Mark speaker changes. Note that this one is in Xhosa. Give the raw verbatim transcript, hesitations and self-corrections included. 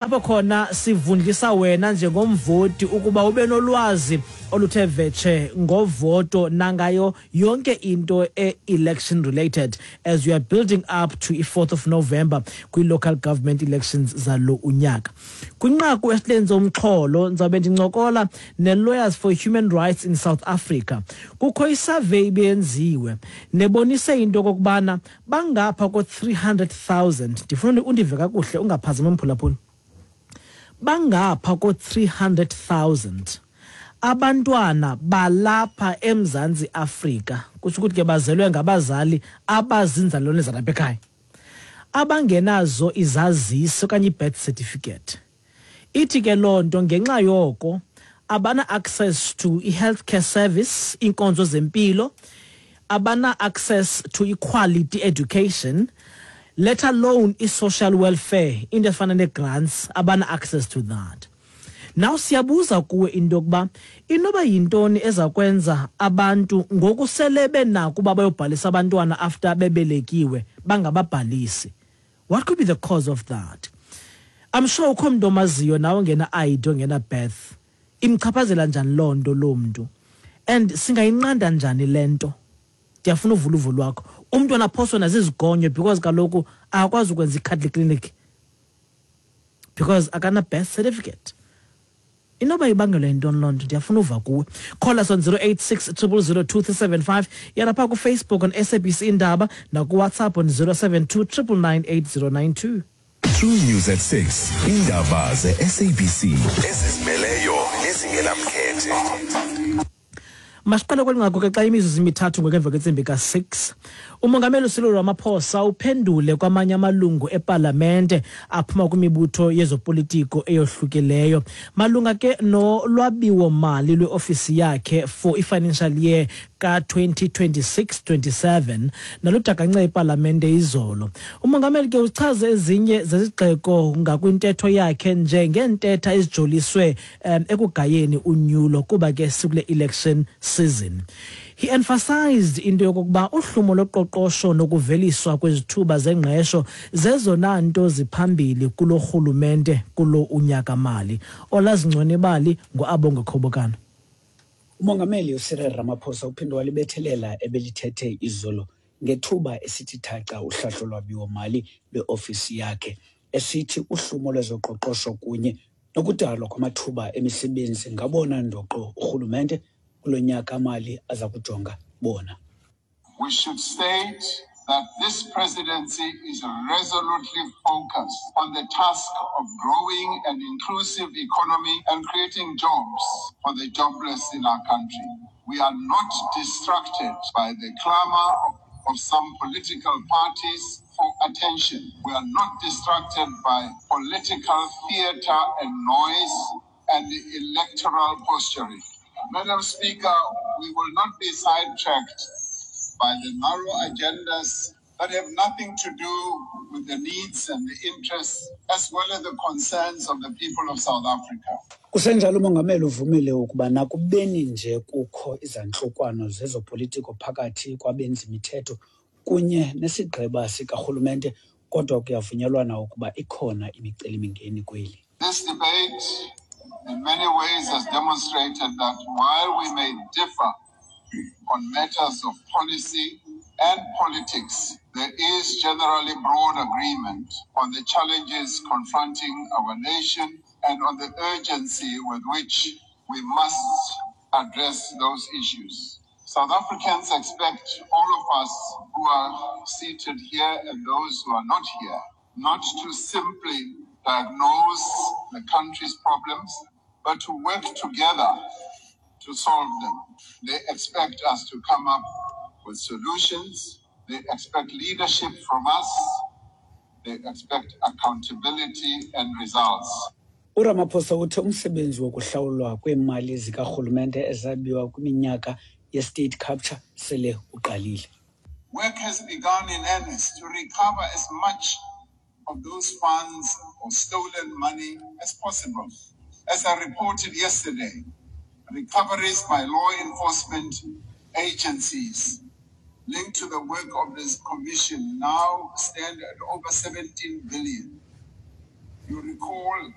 Speaker 1: Apho khona sivundlisa wena njengomvoti ukuba ube nolwazi oluthe vetshe ngovoto nangayo yonke into e-election related as we are building up to i-fourth of November kwi-local government elections zalo unyaka. Kwinqaku esilenze umxholo ndizawube ndincokola ne-Lawyers for Human Rights in South Africa. Kukho isurvey ibenziwe nebonise into okokubana bangapha ko-three hundred thousand. Ndifuna undive kakuhle, ungaphazami mphulaphula. Bangapha ko-three hundred thousand abantwana balapha eMzantsi Afrika, kusho ukuthi ke bazelwe ngabazali abazinzalelwane zalapha ekhaya, abangenazo izazisi okanye i-birth certificate. Ithi ke loo nto ngenxa yoko abana access to i-healthcare service, iinkonzo zempilo, abana access to equality education, let alone i-social welfare, into efana nee-grants, abana access to that. Now siyabuza kuwe into yokuba inoba yintoni eza kwenza abantu ngokusele benako uba bayobhalisa abantwana after bebelekiwe bangababhalisi. What could be the cause of that? I'm sure ukho mntu omaziyo nawe ongena I D, ongena birth. Imchaphazela njani loo nto loo mntu? And singayinqanda njani le nto? Ndiyafuna uvula uvo lwakho. Umntwana aphoswe nazizigonyo because kaloku akakwazi ukwenza i-cuddle clinic because akana birth certificate. Inoba ibangelwa yintoni loo nto? Ndiyafuna uva kuwe. Call us on zero eight six triple zero two three seven five. Yalapha kuFacebook on S A B C Indaba nakuWhatsApp on zero seven two triple nine eight zero nine two.
Speaker 2: True News at six. Indaba ze-S A B C ezizimeleyo nezingenamkhethe.
Speaker 1: Masiqale kweli nqaku ke xa imizuzu imithathu ngoku emva kwentsimbi ka-six. Umongameli uCyril Ramaphosa uphendule kwamanye amalungu epalamente aphuma kwimibutho yezopolitiko eyohlukileyo malunga ke nolwabiwo-mali lweofisi yakhe for i-financial year ka-twenty twenty-six twenty-seven naludakance ipalamente izolo. Umongameli ke uchaze ezinye zezigxeko ngakwintetho yakhe njengeentetha ezijoliswe, um, ekugayeni unyulo kuba ke sikule election season. He emphasized into yokokuba uhlumo loqoqosho nokuveliswa kwezithuba zengqesho zezona nto ziphambili kulo rhulumente kulo unyaka-mali. Olazingcwene ibali nguAbongwe Khobokana.
Speaker 3: Umongameli uCyril Ramaphosa uphinde walibethelela ebelithethe izolo ngethuba esithi thaca uhlahlo lwabiwo-mali lweofisi yakhe, esithi uhlumo lwezoqoqosho kunye nokudalwa kwamathuba emisebenzi ngabona ndoqo urhulumente kulo nyaka-mali aza kujonga bona.
Speaker 4: We should state that this presidency is resolutely focused on the task of growing an inclusive economy and creating jobs for the jobless in our country. We are not distracted by the clamor of some political parties for attention. We are not distracted by political theater and noise and electoral posturing. Madam Speaker, we will not be sidetracked by the narrow agendas that have nothing to do with the needs and the interests as well as the concerns of the people of South Africa.
Speaker 3: Kusenjalo umongameli uvumile ukuba nakubeni nje kukho izantlukwano zezopolitiko phakathi kwabenzi-mithetho kunye nesigqeba sikarhulumente, kodwa kuyavunyelwana ukuba ikhona imicelimingeni kweli.
Speaker 4: This debate in many ways has demonstrated that while we may differ on matters of policy and politics, there is generally broad agreement on the challenges confronting our nation and on the urgency with which we must address those issues. South Africans expect all of us who are seated here and those who are not here not to simply diagnose the country's problems, but to work together to solve them. They expect us to come up with solutions. They expect leadership from us. They expect accountability and results.
Speaker 3: uRamaphosa uthe umsebenzi wokuhlawulwa kweemali zikarhulumente ezabiwa kwiminyaka ye-state capture sele uqalile.
Speaker 4: Work has begun in earnest to recover as much of those funds or stolen money as possible. As I reported yesterday, recoveries by law enforcement agencies linked to the work of this commission now stand at over seventeen billion. You recall